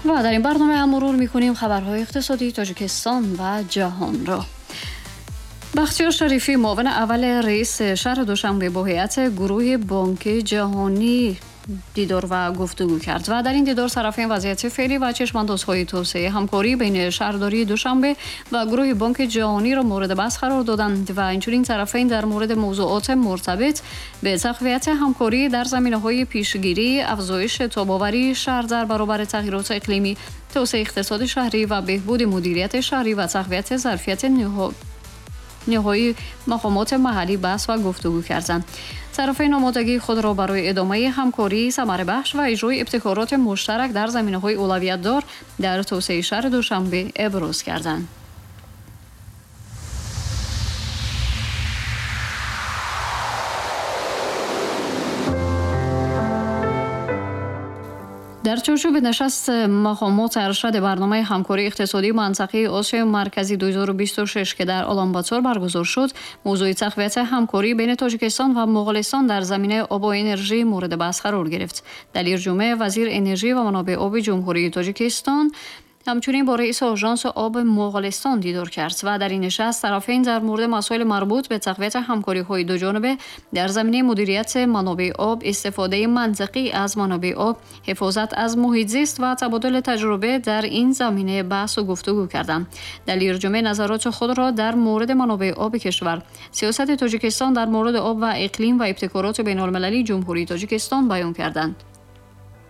Ва дар ин барнома ҳам мурур мекунем хабарҳои иқтисодии Тоҷикистон ва ҷаҳонро. Бахтиёр Шарифӣ, муовини аввали раиси шаҳри Душанбе, бо ҳайати гурӯҳи Бонки Ҷаҳонӣ дидор ва гуфтугӯ кард ва дар ин дидор тарафайн вазъияти феълӣ ва чашмандозҳои тавсеаи ҳамкорӣ байни шаҳрдории Душанбе ва гурӯҳи Бонки Ҷаҳониро мавриди баҳс қарор доданд ва инчунин тарафайн дар мавриди мавзӯоти муртабит ба тақвияти ҳамкорӣ дар заминаҳои пешгирӣ, афзоиши тобоварии шаҳр дар баробари тағйироти иқлимӣ, тавсеаи иқтисоди шаҳрӣ ва беҳбуди мудирияти шаҳрӣ ва тақвияти зарфияти ниҳоии мақомоти маҳаллӣ баҳс ва гуфтугӯ карданд. Тарафайн омодагии худро барои идомаи ҳамкории самарабахш ва иҷрои ибтикороти муштарак дар заминаҳои улавиятдор дар тавсеаи шаҳри Душанбе иброз карданд. Дар чорчӯби нишаст мақомоти аршади барномаи ҳамкории иқтисодии мантақаи Осиёи Марказӣ 2026, ки дар Уланбатор баргузор шуд, мавзӯи тақвияти ҳамкорӣ байни Тоҷикистон ва Моғолистон дар заминаи обу энержӣ мавриди баҳс қарор гирифт. Далер Ҷумъа, вазири энержӣ ва манобеи оби Ҷумҳурии Тоҷикистон, ҳамчунин бо раиси Ожанси оби Моғолистон дидор кард ва дар ин нишаст тарафайн дар мавриди масоили марбут ба тақвияти ҳамкориҳои дуҷонибе дар заминаи мудирияти манобеи об, истифодаи мантиқӣ аз манобеи об, ҳифозат аз муҳит зист ва табодули таҷриба дар ин замина баҳсу гуфтугӯ карданд. Далер Ҷумъа назароти худро дар мавриди манобеи оби кишвар, сиёсати Тоҷикистон дар мавриди об ва иқлим ва ибтикороти байналмилалии Ҷумҳурии Тоҷикистон баён карданд.